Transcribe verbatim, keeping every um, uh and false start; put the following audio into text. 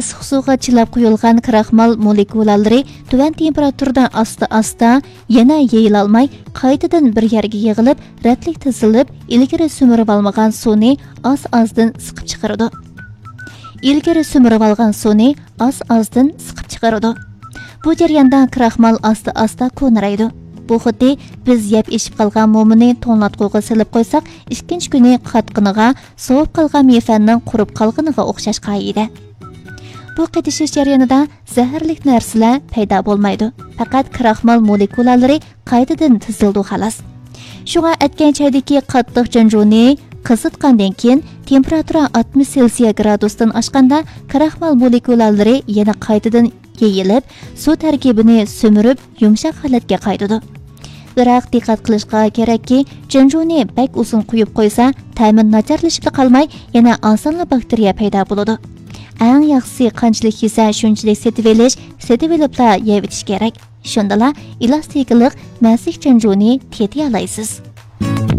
ئىسسىق سۇغا چىلاپ قويۇلغان كراخمال مولېكۇلالىرى تۆۋەن تېمپېراتۇرىدا ئاستا-ئاستا، يەنە يېيىلالماي، قايتىدىن بىر يەرگە يىغىلىپ، رەتلىك تىزىلىپ، ئىلگىرى سۈمۈرۈۋالمىغان سۇنى ئاز-ئازدىن سىقىپ چىقىرىدۇ. ئىلگىرى سۈمۈرۈۋالغان سۇنى ئاز-ئازدىن سىقىپ چىقىرىدۇ. بۇ جەرياندا كراخمال ئاستا-ئاستا كونىرايدۇ. بۇ خۇددى بىز يەپ ئېشىپ قالغان مومىنى توڭلاتقۇغا سېلىپ قويساق، ئىككىنچى كۈنى قاتقىنىغا، سوۋۇپ قالغان مېفەننىڭ قۇرۇپ قالغىنىغا ئوخشاش قائىدە. بۇ قېتىشىش جەريانىدا زەھەرلىك نەرسىلەر پەيدا بولمايدۇ. پەقەت كراخمال مولېكۇلالىرى قايتىدىن تىزىلىدۇ، خالاس. شۇڭا ئەتكەن چايدىكى قاتتىق جۇنجۇنى قىزىتقاندىن كېيىن، تېمپېراتۇرا ئاتمىش سېلسىيە گرادۇستىن ئاشقاندا، كراخمال مولېكۇلالىرى يەنە قايتىدىن يېيىلىپ، سۇ تەركىبىنى سۈمۈرۈپ، يۇمشاق ھالەتكە قايتىدۇ. بىراق، دىققەت قىلىشقا كېرەككى، جۇنجۇنى بەك ئۇزۇن قويۇپ قويسا، تەمى ناچارلىشىپلا قالماي، يەنە ئاسانلا باكتېرىيە پەيدا بولىدۇ. ئەڭ ياخشىسى، قانچىلىك يېسە، شۇنچىلىك سېتىۋېلىش، سېتىۋېلىپلا يەۋېتىش كېرەك. شۇندىلا ئېلاستىكىلىق مەسىك جۇنجۇنى تېتىيالايسىز.